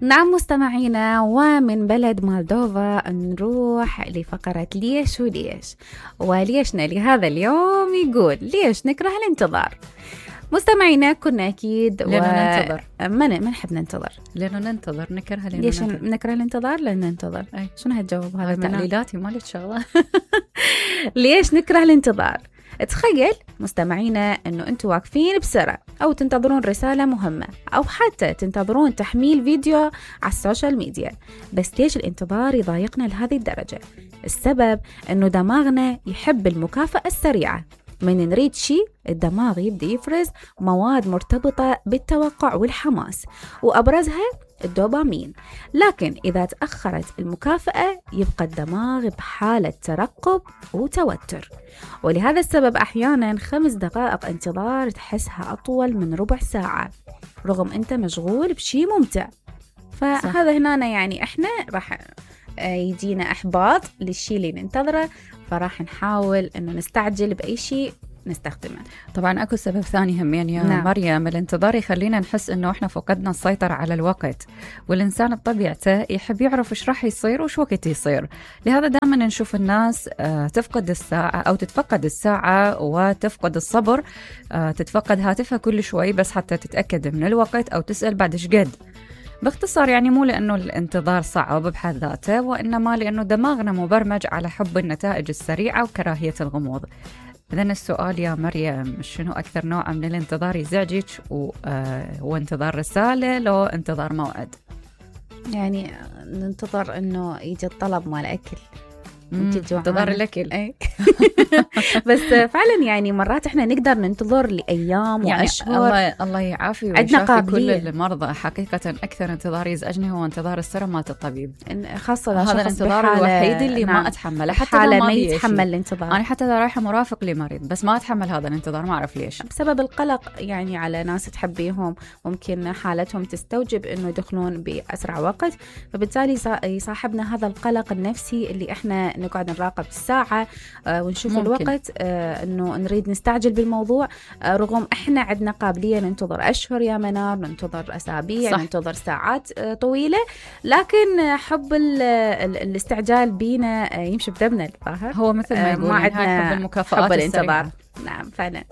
نعم مستمعينا، ومن بلد مولدوفا نروح لفقرة ليش وليش. وليشنا لهذا اليوم يقول ليش نكره الانتظار. مستمعينا كنا أكيد ننتظر، ما نحب ننتظر، لأنه ننتظر نكره. ليش نكره الانتظار؟ لأن ننتظر. شنو هالجواب هذا؟ تعليلاتي مالت شغلة. ليش نكره الانتظار؟ تخيل مستمعينا أنه أنتوا واقفين بسرعة أو تنتظرون رسالة مهمة أو حتى تنتظرون تحميل فيديو على السوشيال ميديا، بس ليش الانتظار يضايقنا لهذه الدرجة؟ السبب أنه دماغنا يحب المكافأة السريعة. من نريد شيء الدماغ يبدأ يفرز مواد مرتبطة بالتوقع والحماس، وأبرزها الدوبامين. لكن إذا تأخرت المكافأة يبقى الدماغ بحالة ترقب وتوتر، ولهذا السبب أحيانا 5 دقائق انتظار تحسها أطول من ربع ساعة رغم أنت مشغول بشي ممتع. فهذا هنا يعني إحنا راح يجينا إحباط للشي اللي ننتظره، فراح نحاول أنه نستعجل بأي شيء نستخدمه. طبعا أكو سبب ثاني همين يا مريم، الانتظار يخلينا نحس أنه إحنا فقدنا السيطرة على الوقت، والإنسان بطبيعته يحب يعرف إيش راح يصير وش وقت يصير. لهذا دائما نشوف الناس تفقد الساعة أو تتفقد الساعة وتفقد الصبر، تتفقد هاتفها كل شوي بس حتى تتأكد من الوقت أو تسأل بعد إيش قد. باختصار يعني مو لأنه الانتظار صعب بحد ذاته، وإنما لأنه دماغنا مبرمج على حب النتائج السريعة وكراهية الغموض. إذن السؤال يا مريم، شنو أكثر نوع من الانتظار يزعجك؟ هو انتظار رسالة لو انتظار موعد؟ يعني ننتظر إنه يجي الطلب مال أكل، انتظار الأكل. أي. بس فعلا يعني مرات احنا نقدر ننتظر لأيام يعني وأشهر. الله يعافي ويشافي كل المرضى. حقيقة أكثر انتظار يزعجني هو انتظار السرة مات الطبيب، خاصة هذا الانتظار الوحيد اللي ما أتحمله، حتى حالة ما يتحمل الانتظار. أنا حتى إذا رايحة مرافق لمريض بس ما أتحمل هذا الانتظار، ما أعرف ليش، بسبب القلق يعني على ناس تحبيهم، ممكن حالتهم تستوجب إنه يدخلون بأسرع وقت، فبالتالي يصاحبنا هذا القلق النفسي اللي احنا نقعد نراقب الساعة ونشوف ممكن الوقت، انه نريد نستعجل بالموضوع، رغم احنا عندنا قابلية ننتظر اشهر يا منار، ننتظر اسابيع، صح. ننتظر ساعات طويلة، لكن حب الاستعجال بينا يمشي بدمنا الظاهر. هو مثل ما يقول ما عندنا حب المكافآت حب الانتظار. نعم فعلا.